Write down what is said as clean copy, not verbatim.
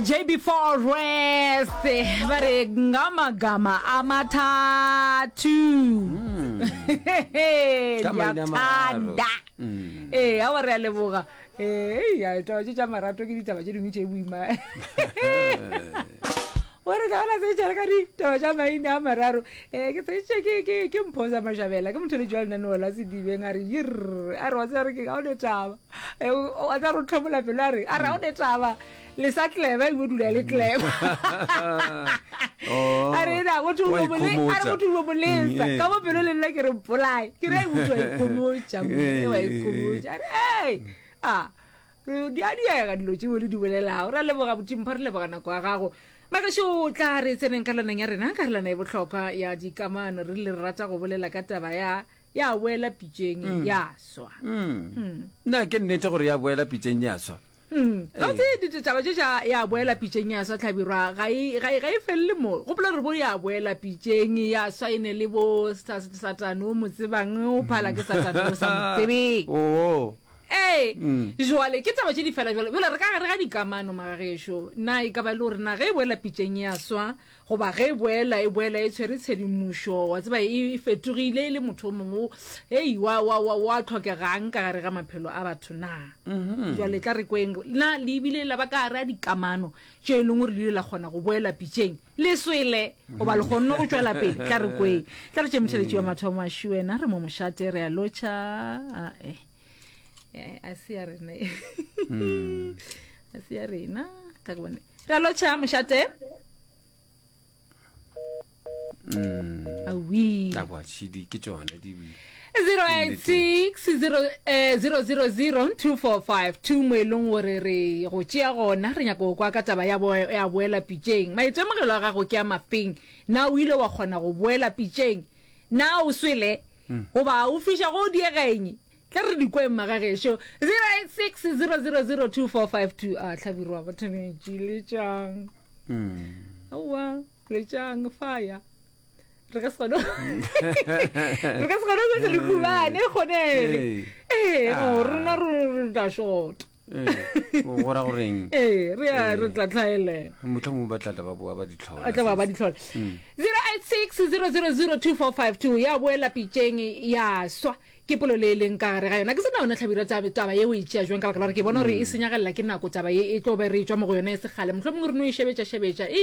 JB Forest ba re ngamagama amathathu Ka maina a mararo. Ndiyakuthanda. Ee, awa re a leboga. Ee, ya taba tše tša marato ke ditaba tše dingwe tše boima. O re tla bona se tšere ka ditaba tša maina a mararo. Eh, ke se ke ke ke mpho sa Mashabela, ke motholetši wa lenaneo la Sedibeng a re yirr, a re wa tseba re ke ga o ne taba. Eh, wa tseba re o tlhomola pelo a re, a re ga o ne taba. Le sa tleba e bo dula le tleba. Oh, A re na motho o wa bo le, a re ikhomotša. motho o bo lesa. Mm, Ka mo pelo le nna ke re mpolae. Ke re motho wa ikhomotša, motho wa ikhomotša. A re, hey, ah, Di a diega dilo tšeo le di bolelago. Re a leboga Botimpho, re leboga nako ya gago. Magešo, tla re tseneng karolwaneng ya rena, karolwana e bohlokwa ya dikamano. Re rile re rata go bolela ka taba ya ya boela pitšeng mm. ya swa. Mm. Mm. Na ke nnete gore ya boela pitšeng ya swa? Mm. Gabotse ditaba tše tša ya boela pitšeng ya swa tlhabirwa ga e, ga e, ga e felele mo. Gopola gore bo ya boela pitšeng ya swa e ne le bo satane o mo tsebang o phala ke satane o sa mo tsebeng. Oo. Ee, jwale ke taba tše di fela jwale. Jwale re ka gare ga dikamano magagešo. Na e ka ba e le gore na ge e boela pitšeng ya swa goba ge e boela e boela e tshwere tshedimošo wa tseba e fetogile e le motho o mongwe hei wa wa wa wa tlhokegang ka gare ga maphelo a batho na? Jwale tla re kweng na le ebile la ba ka gare ga dikamano tše e leng gore le ile la kgona go boela pitšeng le swele goba le kgonne go tšwela pele tla re kweng tla re tše motheletši wa mathomo a šiwena re mo mošate re a lotšha ae Eh, a se ya rena e. Hmm. a se ya rena ka ke bone re a lotšha mošate Hmm. awi Aowa, tšhidi ke tšona di 086 000 2452 mo e leng gore re go tšea gona re nyaka go kwa ka taba ya bo- ya boela pitšeng maitemogelo a gago ke a mafeng na o ile wa kgona go boela pitšeng na o swele goba o fiša go diegeng Tla re di kweng magagešo. 086 000 2452 a hlabirwa batho letšang. Aowa, letšang fire. Re ka se kgone. Re ka se kgone go se le khubane kgonele. Ee, no rena re tla shota. Ee, go ra goreng? Ee, re a re tla tlhaelela. Mohlomongwe ba tla tla ba boa ba di tlhola. Ba tla ba ba di tlhola. 086 000 2452 ya boela pitšeng ya swa. Ke polelo e leng ka gare ga yona. Ke se na yona Hlabirwa taba, taba ye o e tšea jwang ka baka la gore ke bona gore e senyagelela ke nako taba ye e tlo be re e tšwa mo go yona e se kgale. Mohlomongwe re no e šebetša šebetša. E.